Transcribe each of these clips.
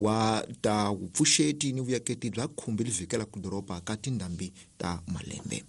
Wa ta vupfuxeti ni vuyaketi bya khumbi livhikela ku doroba ka tindhambi ta malembe.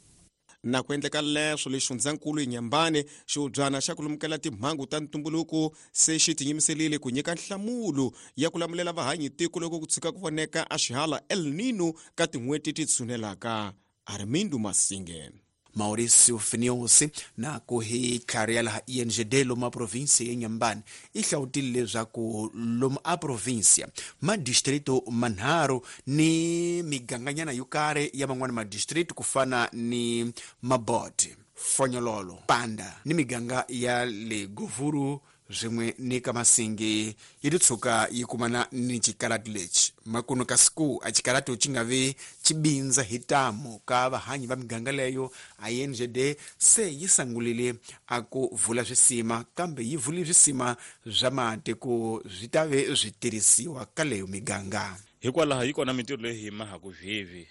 Na ku endleka leswo le xifundzankulu Inhambane, xihubyana xa ku lumukela timhangu ta ntumbuluko se xi tinyimiselile ku nyika nhlamulo ya ku lamulela vahanyi tiko loko ku tshuka ku voneka a xihala El Nino ka tin'hweti ti tshunelaka. Armindo Masinge. Mauricio Finios na ku hi tlhari ya laha INGD lomu a provinsia ya Inhambane i hlawutile leswaku lomu a provinsia madistrito manharhu ni miganganyana yo karhi ya man'wana madistrito ku fana ni Mabote, Fonyololo, Panda ni miganga ya le Govuru swin'we ni ka Masingi yi ti tshuka yi kumana ni xikarati lexi. Makuno ka siku a xikarati xi nga vi xi bindza hi tamu ka vahanyi va miganga leyo, a INGD se yi sangulile a ku vula swisima, kambe yi vule swisima swa mati ku swi ta ve swi tirhisiwa ka leyo miganga. Hikwalaho yi kona mintirho leyi hi mahaku sweswi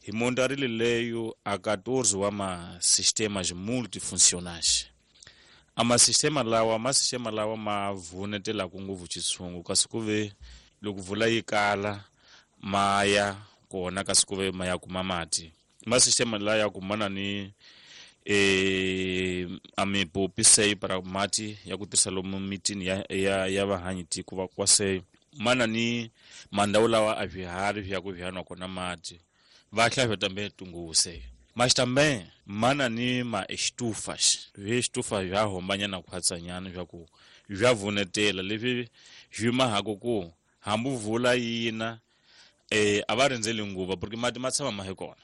hi montarile leyo a 14 wa ma-sistemas multifuncionais. A masistema lawa masistema lawa ma vunetelaku ngopfu xitshungu, kasi ku ve loko vula yi kala ma ya kona, kasi ku ve ma ya kuma mati. Masistema lawa ya kumana ni a mipopi sei para mati ya ku tirhisa lomu mitini ya vahanyi tiko va kwa sei mana ni mandhawu lawa a swiharhi swi ya ku swi nwa kona mati va hlaya tambe tunguse mas também mana ni ma estufas vi-estufa bya hombanyana khwatsanyana swa ku bya vunetela leswi swi mahako ku hambi vula yina a va rindzeli nguva porque mati ma tshama ma hi kona.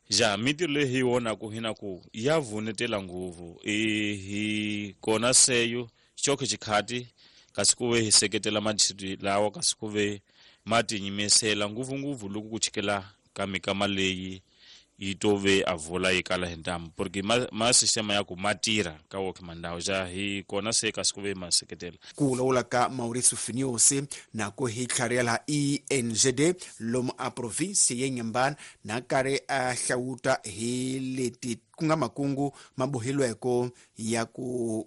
Ja mintirho leyi hi vonaku hina ku ya vunetela ngopfu hi kona seyo xokhe xikhati kasi ku ve hi seketela madistriti lawa, kasi ku ve ma tinyimisela ngopfungopfu loko ku chikela ka mikama leyi yi to ve a vula yi kala hi ntamu, porque ma sistema ya ku ma tirha ka woke mandhawu ja hi kona se kasi ku ve ma seketela. Ku vulavula ka Mauricio Finios na ku hi tlhari ya laha INGD lomu a provinsi ya Inhambane na karhi a hlawuta hi leti ku nga makungu ma bohilweko ya ku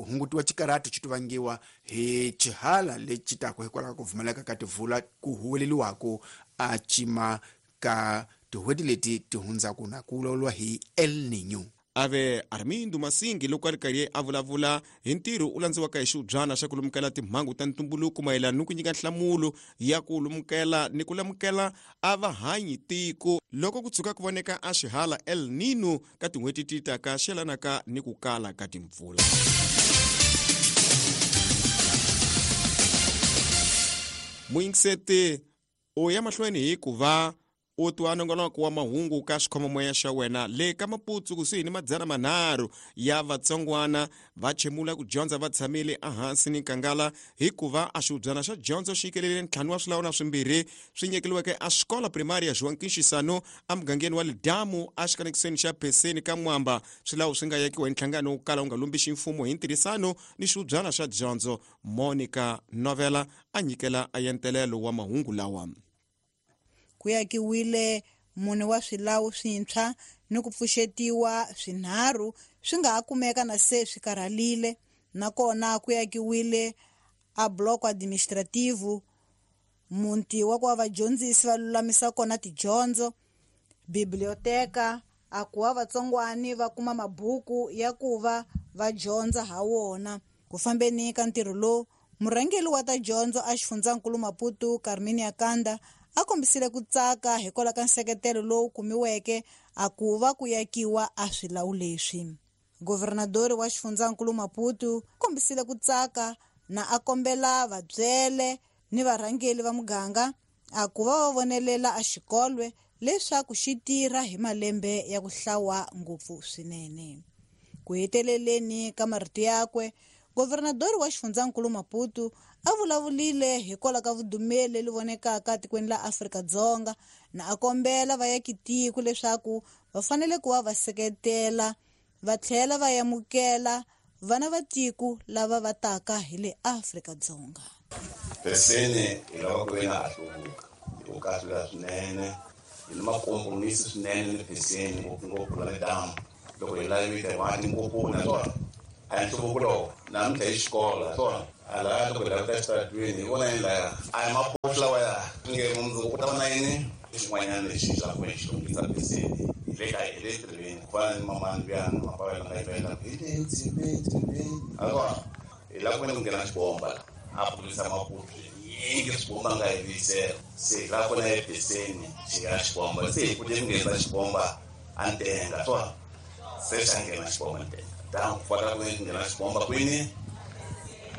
hungutiwa xikarati xi tivangiwa hi xihala lexi taka hikwalaho ka ku pfumaleka ka tivula ku huweleliwako a cima ka tin'hweti leti ti hundzaka na ku vulavuriwa hi El Niño. Ave Armindo Masingi loko a ri karhi a vulavula hi ntirho u landziwaka hi xihubyana xa ku lumukela timhangu ta ntumbuluko mayelana ni ku nyika nhlamulo ya ku lumukela ni ku lemukela a vahanyi tiko loko ku tshuka ku voneka a xihala El Nino ka tin'hweti ti taka xi yelanaka ni ku kala ka timpfula. Muyingiseti u ya mahlweni hi ku va u twa nongonoko wa mahungu ka xikhomomoya xa wena le ka Maputsu kusuhi ni 300 ya vatsongwana va chemula ku dyondza va tshamile ehansi ni nkangala hikuva a xihubyana xa dyondzo xi nyikelele 5 wa swilawuna swimbirhi swi nyikeliweke a xikola primary ya João Quinxisano emugangeni wa Lidamu exikanekisweni xa Pheseni ka Mwamba. Swilawu swi nga yakiwa hi nhlangano wo kala wu nga lombixi mfumo hi ntirhisano ni xihubyana xa dyondzo. Monica Novela a nyikela a yentelelo wa mahungu lawa. Ku yakiwile 4 wa swilawu swintshwa ni ku pfuxetiwa swinharhu swi nga ha kumeka na se swi karhalile, nakona ku yakiwile a bloco administrativo, muti wa ku va vadyondzisi va lulamisa kona tidyondzo, biblioteka a ku va vatsongwani va kuma mabuku ya ku va va dyondza ha wona. Ku fambeni ka ntirho lowu, murhangeri wa ta dyondzo a xifundzankulu Maputo Carminia Kanda a kombisile ku tsaka hikwalaho ka nseketelo lowu kumiweke a ku va ku yakiwa a swilawu leswi. Governadori wa xifundzankulu Maputo kombisile ku tsaka na a kombela vabyele ni varhangeri va muganga a ku va va vonelela a xikolwe leswaku xi tirha hi malembe ya ku hlawa ngopfu swinene. Ku heteleleni ka marito yakwe, governadori wa xifundzankulu Maputo a vulavulile hikwalaho ka vudumeli leri vonekaka tikweni la Afrika-Dzonga na a kombela vayakitiko leswaku va fanele ku va va seketela va tlhela va amukela vana va tiko lava va taka hi le Afrika-Dzonga. Pheseni hi lava ku ve na a hluvuka hi ku kahlula swinene hi ni makompromisi swinene ni Pheseni ngopfungopfu la le damu loko hi lavile mati ngopfu naswona a hi nhluvuko lowu namuntlha hi xikolo naswona a laya loko hi lavita exitaratweni hi vona yini laya a hi maphorisa. nge mundzuku ku ta va na yini xin'wanyana lexi xa ku xi lunghisa Pheseni hi le ka hi le tirhweni ku fana ni mamani luyani mapavela nga yimela hi le ndzimeni a hi lava ku veni ku nghena xibomba a pfurisa Maputo yingi xibomba nga hi vuyisela se hi lava ku na ePheseni xi nghena xibomba se hi kute ku nghenisa xibomba a ntenga swona se xa nghena xibomba ntenga dan ku fana ku nghena xibomba kwini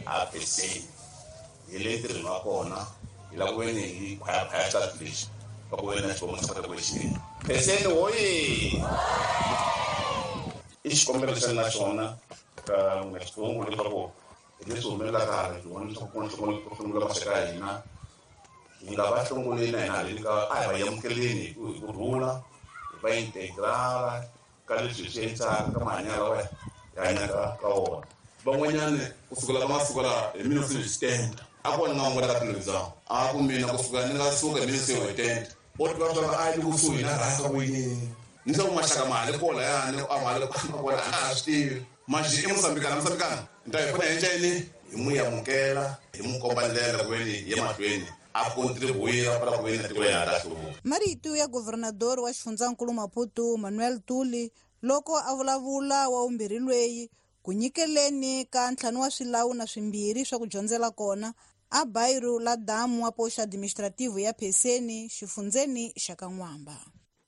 a Pheseni hi le ntirhweni wa kona hi lava ku veni hi khwayakhwaya xitatu lexi va ku veni na xibomba xa kota ku xi nghena Pheseni hoye i xikombelo xa na xona ka n'wina xitsongo leswaku hi leswi humelelaka hala hi vona leswaku ku na ku hlongula maxaka ya hina hi nga va hlongoleni na hina haleni ka a hi va amukeleni hi ku rhula hi va integrala ka leswi hi swi endlaka ka mahanyelo lawa hi hanyaka ka wona. Van'wanyani kusukela ka masiku lawa hi 1970 a ku va ni nga n'wana ka tilondzana a ku mina kusuka ni nga suka hi 1970 o tiva swa a yi kusuhi na rhasa ku yini ni swa ku maxaka ma ha le kona yani a ma le kona a ha swi tivi manjhe i Mosambikana Mosambikana ni ta hi fana hi endla yini hi n'wi amukela hi n'wi komba ndlela ku veni hi ye mahlweni a contribuir para ku veni na tiko ya ta hluvuka. Marito ya governador wa xifundzankulu Maputo Manuel Tuli loko a vulavula wa vumbirhi lweyi ku nyikeleni ka ntlhanu wa swilawu na swimbirhi swa ku dyondzela kona a bairro la damu wa posto administrativo ya Pheseni xifundzeni xa ka N'wamba.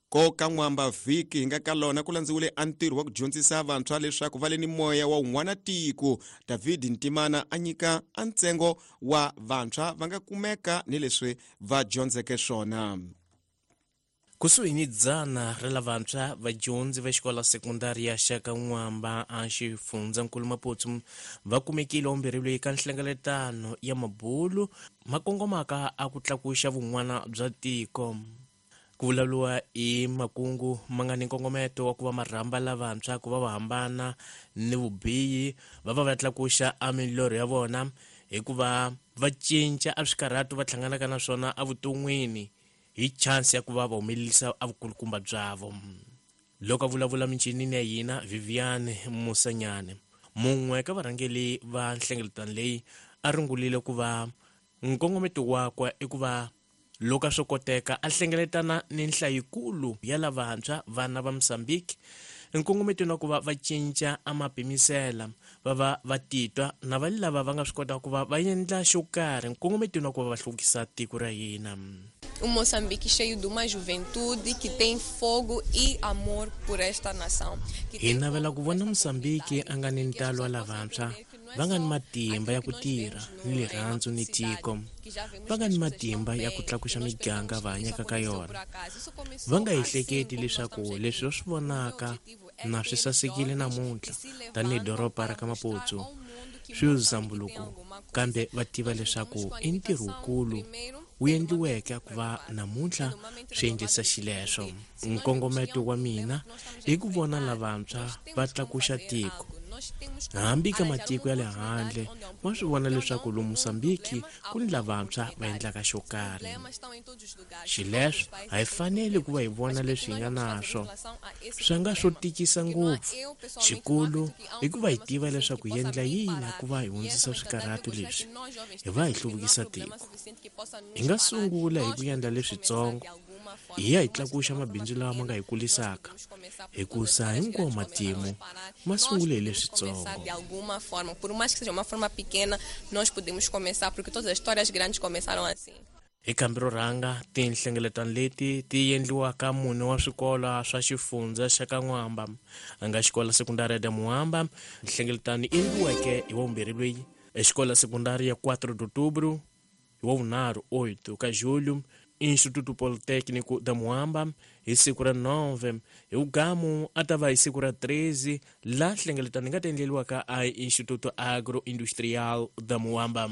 Ko ka N'wamba vhiki hi nga ka lona ku landziwile a ntirho wa ku dyondzisa vantshwa leswaku va le ni moya wa wun'wana tiko. David Ntimana a nyika a ntsengo wa vantshwa va nga kumeka ni leswi va dyondzeke swona. Kusuhi ni 100 ra lavantshwa vadyondzi va xikolo sekondari ya xa ka N'wamba a xifundzankulu Maputo va kumekile vumbirhi leyi ka nhlengeletano ya mabulu ma kongomaka a ku tlakuxa vun'wana bya tiko. Ku vulavuriwa hi makungu ma nga ni nkongometo wa ku va marhamba lavantshwa ku va va hambana ni vubihi va va va tlakuxa a milorho ya vona hikuva va cinca a swikarhato va hlanganaka na swona evuton'wini hi chance ya ku va va humelerisa a vukulukumba byavo. Loko a vulavula minchinini ya hina Viviane Musanyane mun'we ka varhangeri va nhlengeletano leyi a rungulile ku va nkongometo wakwe i ku va loko a swo koteka a hlengeletana ni nhlayikulu ya lavantshwa vana va Mozambique nkongometweni wa ku va va cinca a mapimisela va va va titwa na va lava va nga swi kotaka ku va va endla xo karhi nkongometweni wa ku va va hluvukisa tiko ra hina. Um Moçambique cheio de uma juventude que tem fogo e amor por esta nação. Hi navela ku vona Mozambique a nga ni ntalo wa lavantshwa va nga ni matimba ya ku tirha ni rirhandzu ni tiko, va nga ni matimba ya ku tlakuxa miganga va hanyaka ka yona. Va nga ehleketi leswaku leswi va swi vonaka na swi sasekile namuntlha tanihi doroba ra ka Maputo swi zambuluko, kambe va tiva leswaku i ntirho wukulu wu endliweke ku va namuntlha swi endlisa xileswo. Nkongometo wa mina i ku vona lavantshwa va tlakuxa tiko hambi ka matiko ya le handle va swi vona leswaku lomu Mozambique ku ni lavantshwa va endlaka xo karhi. Xileswo a hi faneli ku va hi vona leswi hi nga naswo swi nga swo tikisa ngopfu. Xikulu i ku va hi tiva leswaku hi endla yini ku va hi hundzisa swikarhato leswi hi va hi hluvukisa tiko. Hi nga sungula hi ku endla leswitsongo hi ya hi tlakuxa mabindzu lawa ma nga hi kulisaka hikusa hinkwawo matimu ma sungule hi leswitsongo. De alguma forma, por mais que seja uma forma pequena, nós podemos começar, porque todas as histórias grandes começaram assim. Hi kambi ro rhanga tinhlengeletano leti ti endliwaka mune wa swikolo swa xifundza xa ka N'wamba a nga xikolo sekundari ya Muamba nhlengeletano yi endliweke hi wa vumbirhi lweyi exikolo sekundari ya 4 de outubro hi wa vunharhu 8 ka julho Instituto Politécnico da Muamba hi siku ra 9 hi ugamu a ta va hi siku ra 13 la nhlengeletano yi nga ta endleriwaka a Instituto Agroindustrial da Muamba.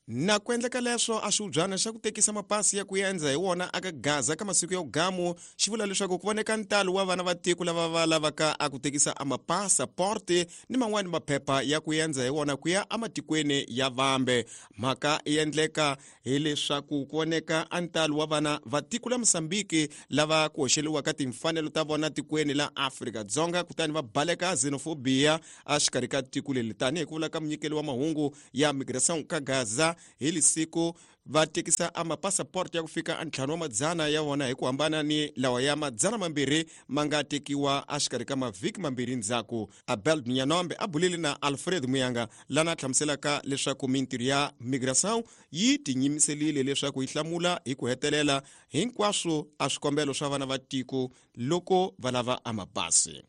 Na ku endleka leswo a xiubyana xa ku tekisa mapasi ya ku endza hi wona aka Gaza ka masiku ya ugamu xi vula leswaku ku voneka ntalo wa vana va tiko lava va lavaka a ku tekisa a mapasaporte ni man'wani maphepha ya ku endza hi wona ku ya ematikweni ya vambe. Mhaka yi endleka hileswaku ku voneka a ntalo wa vana va tiko la Mozambique lava ku hoxeliwaka timfanelo ta vona tikweni la Afrika-Dzonga kutani va baleka xenophobia exikarhi ka tiko leri tanihi ku vula ka munyikeli wa mahungu ya migração ka Gaza hi lisiku Va tekisa a mapasaport ya ku fika a 5 wa madzana ya vona hi ku hambana ni lawa ya 200 ma nga tekiwa exikarhi ka mavhiki mambirhi ndzhaku. Abel Nyanombe a bulile na Alfred Muyanga lana a hlamuselaka leswaku mintirho ya migração yi tinyimiselile leswaku yi hlamula hi ku hetelela hinkwaswo a swikombelo swa vana va tiko loko va lava a mapasi.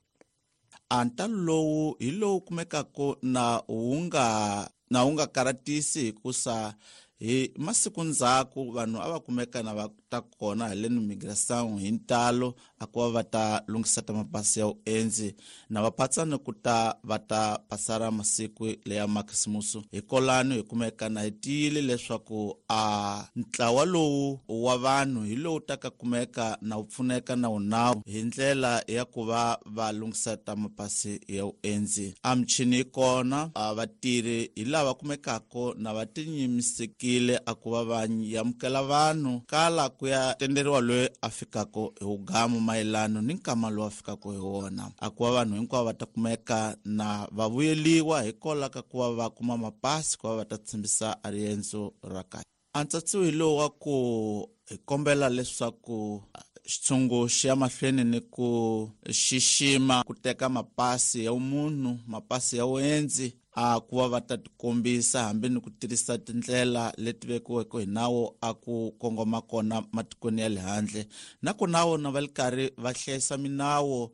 A ntalo lowu hi lowu kumekaka na wu nga karatisi hikusa hi masiku ndzhaku vanhu a va kumeka na va ta kona hi le migração hi ntalo a ku va va ta lunghisa ta mapasi ya vuendzi na va phatsani ku ta va ta pasara masiku leya makhisimusi. Hi kolano hi kumeka na hi tiyile leswaku a ntlawa lowu wa vanhu hi lowu ta ka kumeka na wu pfuneka na wunawu hi ndlela ya ku va va lunghisa ta mapasi ya vuendzi. A michini yi kona, a vatirhi hi lava kumekaka na va tinyimisekile a ku va va amukela vanhu kala ku ya tenderiwa loyi a fikaka hi wugamu mayelano ni nkama lowu a fikaka hi wona. A ku va vanhu hinkwavo va ta kumeka na va vuyeliwa hikwalaho ka ku va va kuma mapasi ku va va ta tshembisa a riendzo ra kahle. A ntsatsiwo hi lowu wa ku hi kombela leswaku xitshungu xi ya mahlweni ni ku xixima ku teka mapasi ya munhu, mapasi ya vuendzi, a ku va va ta tikombisa hambi ni ku tirhisa tindlela leti vekiweke hi nawu a ku kongoma kona matikweni ya le handle. Nakona vona va le karhi va hlayisa minawu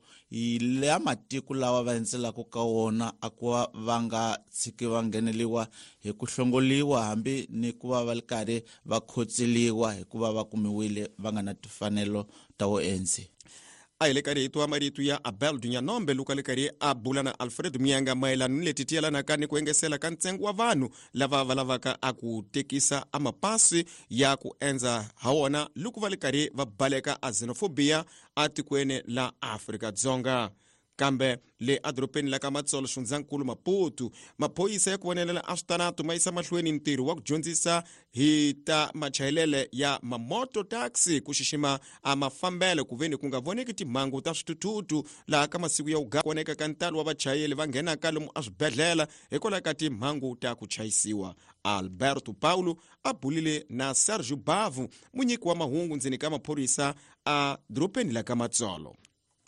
ya matiko lawa va endzelaka ka wona a ku va va nga tshiki va ngheneliwa hi ku hlongoliwa hambi ni ku va va le karhi va khotseliwa hikuva va kumiwile va nga na timfanelo ta vuendzi. A hi le karhi hi twa marito ya Abel Dunyanombe loko a le karhi a bula na Alfred Muyanga mayelana ni leti ti yelanaka ni ku engesela ka ntsengo wa vanhu lava va lavaka a ku tekisa a mapasi ya ku endza ha wona loko va le karhi va baleka a xenophobia atikweni la Afrika-Dzonga. Kambe le adorobeni la ka Matsolo xifundzankulu Maputo, maphorisa ya ku vonelela a switaratu ma yisa mahlweni ntirho wa ku dyondzisa hi ta machayelele ya mamoto taxi ku xixima a mafambelo ku veni ku nga voneki timhangu ta swithuthuthu laha ka masiku ya ku voneka ka ntalo wa vachayeli va nghenaka lomu eswibedhlele hikwalaho ka timhangu ta ku chayisiwa. Alberto Paulo a bulile na Sergio Bavu, munyiki wa mahungu ndzeni ka maphorisa a dorobeni la ka Matsolo.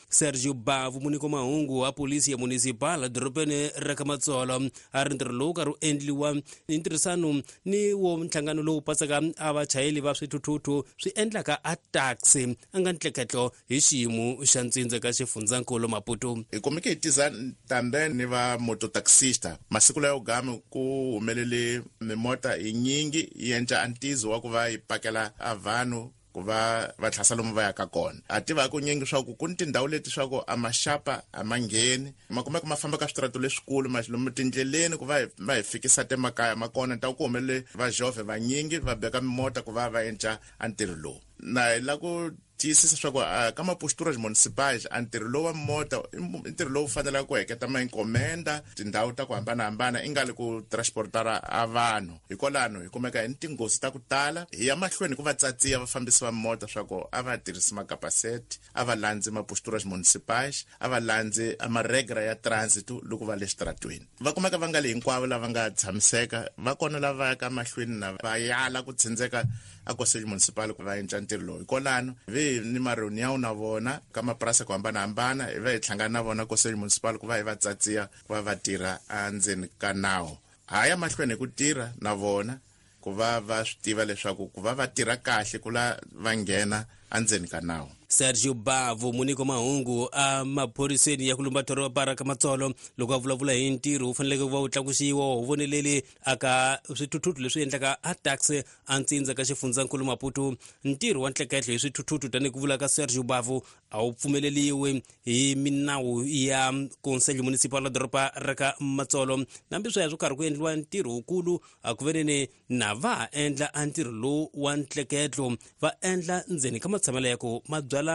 Sergio Bavu, munyiki wa mahungu wa polisi ya municipal dorobeni ra ka Matsolo, a ri ntirho lowu karhi wu endliwa hi ntirhisano ni wo nhlangano lowu pasaka a vachayeli va swithuthuthu swi endlaka a taxi a nga ntleketlo hi xiyimo xa ntsindza ka xifundzankulu Maputo. Hi kumeke hi tiza tambe ni va mototaxista masiku layo gami ku humelele mimota hi nyingi yi endla antizo wa ku va yi pakela a vanhu ku va va tlhasa lomu va yaka kona. A tiva ku nyingi swa ku ku ni tindhawu leti swa ku a maxapa a ma ngheni, ma kumeka ma famba ka switirato leswikulu ma lomu tindleleni ku va va hi fikisa temakaya ma kona. Ta ku humelele va jove vanyingi va beka mimota ku va va endla a ntirho lowu. Na hi la ku tiyisisa swa ku ka maposturas municipais a ntirho lowu wa mota i ntirho lowu fanelaka ku heketa ma encomenda tindhawu ta ku hambanahambana i nga li ku transportara a vanhu. Hikwalano hi kumeka hi ni tinghozi ta ku tala hi ya mahlweni ku va tsatsiya vafambisi va mota swa ku a va tirhisi makapaseti, a va landzi maposturas municipais, a va landzi a maregra ya transit loko va le xitaratweni. Va kumeka va nga le hinkwavo lava nga tshamiseka, va kona lava yaka mahlweni na va yala ku tsindzeka a conselho municipal ku va endla ntirho lowu. Hikwalano vi ni mareunião na vona ka mapurasi ku hambanahambana, hi va hi hlangana na vona conselho municipal ku va hi va tsatsiya ku va va tirha endzeni ka nawu. Ha ya mahlweni hi ku tirha na vona ku va va swi tiva leswaku ku va va tirha kahle ku la va nghena endzeni ka nawu. Sergio Bavu, munyiki wa mahungu a maphoriseni ya ku lumba doroba ra ka Matsolo, loko a vulavula hi ntirho wu faneleke ku va wu tlakusiwa wu voneleli aka swithuthuthu leswi endlaka a taxi a ntsindza ka xifundzankulu Maputo. Ntirho wa ntleketlo hi swithuthuthu tanihi ku vula ka Sergio Bavu a wu pfumeleliwi hi minawu ya Conselho Municipal la doroba ra ka Matsolo. Nambi sweswo karhi ku endliwa ntirho wukulu a ku veneni na va endla a ntirho lowu wa ntleketlo va endla ndzeni ka matshamelo ya ku mabyala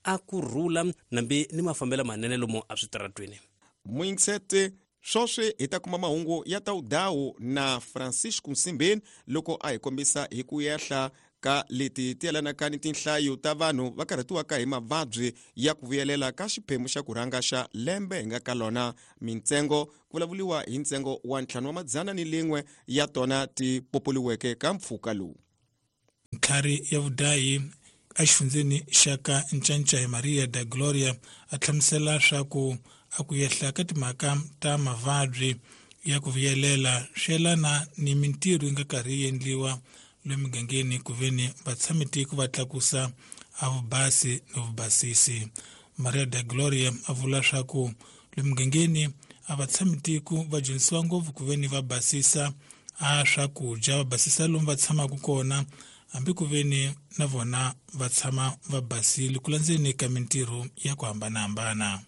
a ku rhula nambi ni mafambelo manene lomu a switaratweni. Muyingisete swoswi hi ta kuma mahungu ya tawudawu na Francisco Nsimbeni loko a hi kombisa hi ku yehla ka leti ti yelanaka ni tinhlayo ta vanhu va karhatiwaka hi mavabyi ya ku vuyelela ka xiphemu xa ku rhanga xa lembe hi nga ka lona. Mintsengo ku vulavuriwa hi ntsengo wa 501 ya tona ti popoliweke ka mpfhuka lowu. Ntlhari ya vudayi exifundzeni xa ka Ncancai Maria da Gloria a hlamusela swa ku a ku yehla ka timhaka ta mavabyi ya ku vuyelela swi yelana ni mintirho yi nga karhi yi endliwa le migangeni ku veni vatshamitiko va tlakusa a vubasi ni vubasisi. Maria da Gloria a vula swa ku le mugangeni a vatshamitiko va dyondzisiwa ngopfu ku veni va basisa a swakudya, va basisa lomu va tshamaka kona, hambi ku veni na vona va tshama va basile ku landzeni ka mintirho ya ku hambanahambana.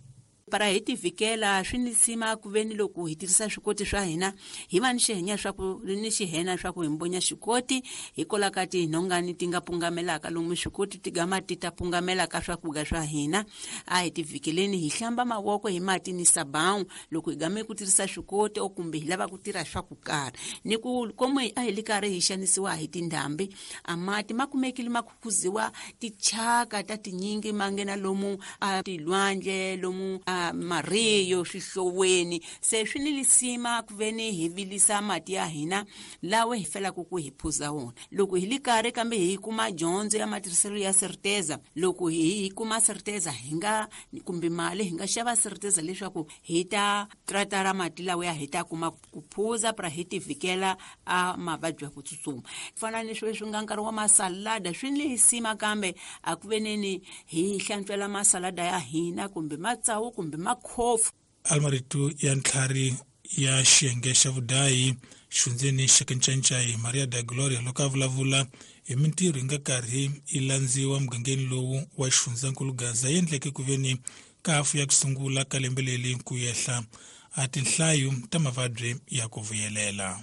Para hi tivikela swi ni sima ku veni loko hi tirhisa swikoti swa hina hi va ni xihenya swa ku ni xihena swa ku hi mbonya xikoti hikwalaho ka tinhongani ti nga pungamelaka lomu swikoti ti gama ti ta pungamela ka swakudya swa hina. A hi tivikeleni hi hlamba mavoko hi mati ni sabawu loko hi game ku tirhisa swikoti o kumbe hi lava ku tirha swa ku karhi ni ku komu a hi li karhi hi xanisiwa hi tindhambi. A mati ma kumekile ma khukhuziwa tichaka ta tinyingi ma nghena lomu a tilwandle lomu a mariyo swihloweni, se swi ni lisima ku veni hi vilisa mati ya hina lawa hi felaka ku hi phuza wona loko hi li karhi kambe hi kuma dyondzo ya matirhiselo ya certeza. Loko hi kuma certeza hi nga kumbe mali hi nga xava certeza leswaku hi ta tratara mati lawa ya hi ta kuma ku phuza pra hi tivikela a mavabyi ya ku tsutsuma fana ni sweswi nga nkarhi wa masalada. Swi ni lisima kambe a ku veneni hi hlantswela masalada ya hina kumbe matsawu kumbe makhofu. Almarito ya ntlhari ya xiyenge xa vudayi xifundzeni xa Ncancai Maria da Gloria loko a vulavula hi mintirho yi nga karhi yi landziwa mugangeni lowu wa xifundzankulu Gaza yi endleke ku veni ka hafu ya ku sungula ka lembe leri ku yehla a tinhlayo ta mavabyi ya ku vuyelela.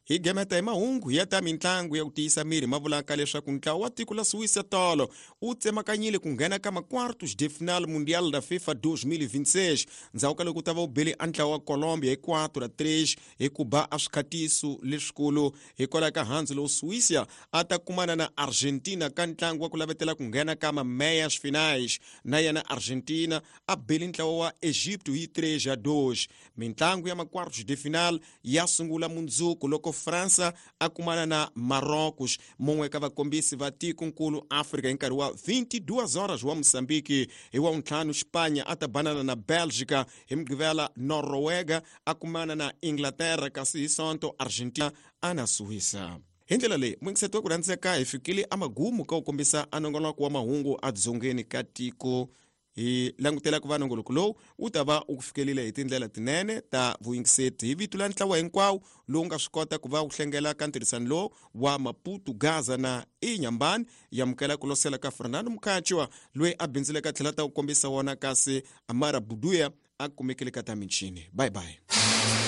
Hi gemeta hi mahungu ya ta mitlangu ya ku tiyisa miri ma vulaka leswaku ntlawa wa tiko la Suíça tolo wu tsemakanyile ku nghena ka ma-quartos de final Mundial da FIFA 2026 ndzhaku ka loko ta va wu bele a ntlawa wa Colombia hi 4-3 hi ku ba a swikhatiso leswikulu. Hikwalaho ka handzu lowu Suíça a ta kumana na Argentina ka ntlangu wa ku lavetela ku nghena ka ma-meias finais, na yena Argentina a bele ntlawa wa Egipto hi 3-2. Mintlangu ya ma-quartos de final ya sungula mundzuku loko Fransa a kumana na Marrocos, mun'we ka vakombisi va tikonkulu Afrika hi nkarhi wa 22 horas wa Mozambique. Hi wa ntlhanu Spanya a ta banana na Belgica, hi Mugqivela Noruega a kumana na Inglaterra, kasi hi Sonto Argentina a na Suíça. Hi ndlela leyi muyingiseti wa ku rhandzeka hi fikile amagumu ka ku kombisa a nongonoko wa mahungu edzongeni ka tiko. Hi langutela ku va nongoloko lowu wu ta va wu ku fikelile hi tindlela tinene ta vuyingiseti. Hi vito la ntlawa hinkwawo lowu nga swi kota ku va wu hlengela ka ntirhisano lowu wa Maputo, Gaza na Inhambane, yamukela ku losela ka Fernando Mukhatshwa loyi a bindzuleke a tlhela ta ku kombisa wona, kasi Amara Buduya a kumekile ka ta michini. Bye bye.